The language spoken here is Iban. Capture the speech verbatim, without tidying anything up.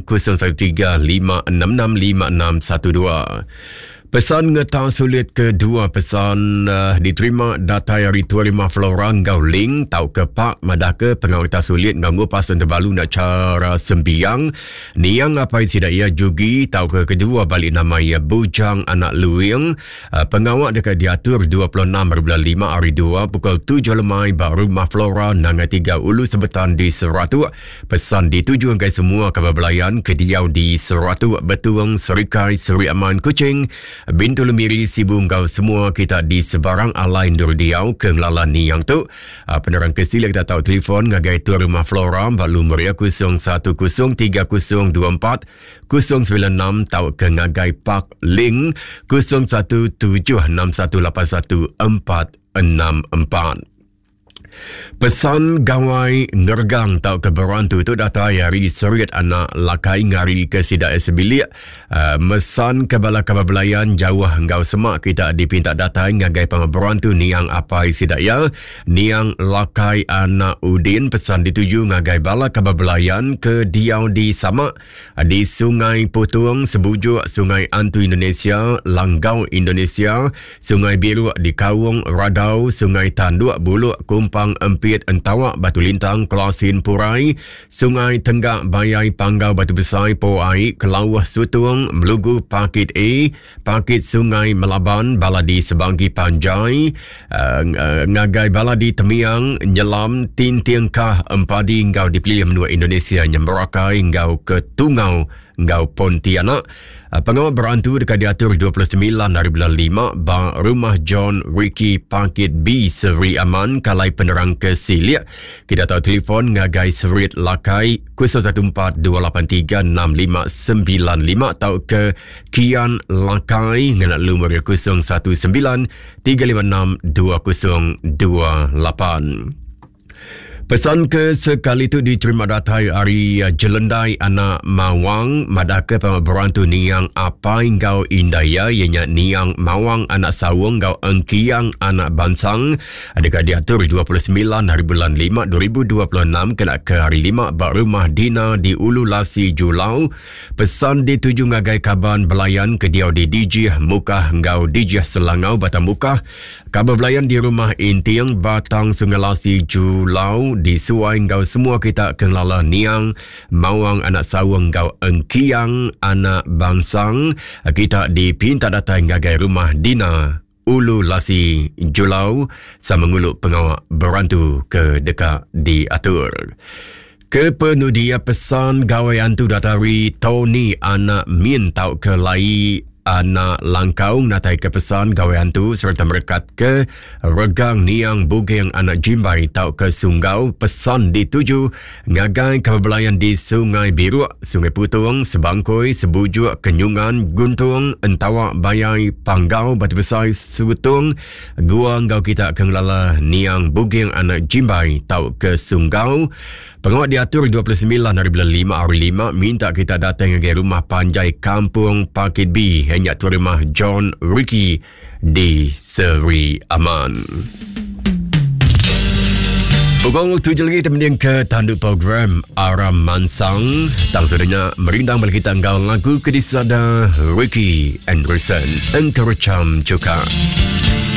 kosong satu tiga lima enam enam lima enam satu dua. Pesan ngetang sulit kedua pesan uh, diterima datai hari Tuan Rumah Flora ngau link tau ke pak madah ke pengawal sulit ngau ngupas terbalu nak cara sembiang niang apa sida ia jugi tau ke kedua balik nama ia Bujang Anak Luing. Uh, pengawal dekat diatur dua puluh enam bulan lima hari dua pukul tujuh lemai ba Rumah Flora Nanga tiga Ulu Sebetan di Seratuk. Pesan dituju ke semua kabar belayan ke diau di Seratuk, Betuang, Serikai, Seri Aman, Kuching, Bintulu, Miri, Sibu ngau semua kita di sebarang alai ndur diau ke ngelala niang tu. Penerang kesilik kita tahu telefon ngagai Tuan Rumah Flora ba lumur ya kosong satu kosong tiga kosong dua empat kosong sembilan enam tau ke ngagai Park Link kosong satu tujuh enam satu lapan satu empat enam empat. Pesan gawai ngergang tau ke berantu tu datai hari Serit Anak Lakai ngari ke sidak sebilik. Uh, mesan ke bala kabar belayan jauh ngau semak kita dipinta datai ngagai pang berantu niang apai sidak ya niang Lakai Anak Udin. Pesan dituju ngagai bala kabar belayan ke diau di Samak di Sungai Putung, Sebujuk, Sungai Antu Indonesia, Langgau Indonesia, Sungai Biru di Kaung, Radau, Sungai Tanduk, Buluk, Kumpang, Empit, Entawak, Batu Lintang, Kelasin, Purai, Sungai Tenggak, Bayai, Panggau, Batu Besai, Poai, Kelauh, Sutung, Melugu, Pakit A, Pakit Sungai Melaban, Baladi Sebangki Panjai, uh, ngagai Baladi Temiang, Nyelam, Tinting Kah, Empadi, ngau dipilih menua Indonesia, Nyemberakai, ngau Ketungau, ngau Pontianak. Pengawal berantu dekat diatur dua puluh sembilan hari bulan lima ba Rumah John Ricky Pakit B Seri Aman. Kalai penerang ke Silik kita tahu telefon ngagai Serit Lakai kosong satu empat dua lapan tiga enam lima sembilan lima atau ke Kian Lakai ngena lumur kosong satu sembilan tiga lima enam dua kosong dua lapan. Pesan ke sekali tu diterima datai hari Jelendai Anak Mawang madaka berantu niang apai ngau indaya ianya niang Mawang Anak Sawung ngau Engkiang Anak Bansang. Adakah diatur dua puluh sembilan hari bulan lima dua ribu dua puluh enam kena ke hari lima ba Rumah Dina di Ulu Lasi Julau. Pesan dituju ngagai kaban belayan ke diau di Dijih Mukah ngau Dijih Selangau Batang Mukah. Kaban belayan di Rumah Inting Batang Sungai Lasi Julau disuai ngau semua kita kenala niang Mawang Anak Sawung ngau Engkiang Anak Bangsang. Kita dipinta datang ngagai Rumah Dina Ulu Lasi Julau sama nguluk pengawak berantu ke dekat diatur. Kepenudia pesan gawai antu datari Tony Anak Min tau ke lai Anak Langkau natai ke pesan gawai hantu serta merekat ke regang niang Bugeng Anak Jimbai tau ke Sunggau. Pesan dituju ngagai kabelayan di Sungai Biruk, Sungai Putung, Sebangkoi, Sebujuk, Kenyungan, Guntung, Entawak, Bayai, Panggau, Batu Besai, Sutung, Gua ngau kita ke ngelala niang Bugeng Anak Jimbai tau ke Sunggau. Pengawal diatur dua puluh sembilan hari bulan lima hari lima minta kita datang ke rumah panjai Kampung Pakit B hanya tuan rumah John Ricky di Seri Aman. Pukul tujuh lagi teman ke tanduk program Aram Mansang. Tang sudahnya merindang bagi kita engkau lagu kedisada Ricky Anderson Engkerecam Cuka.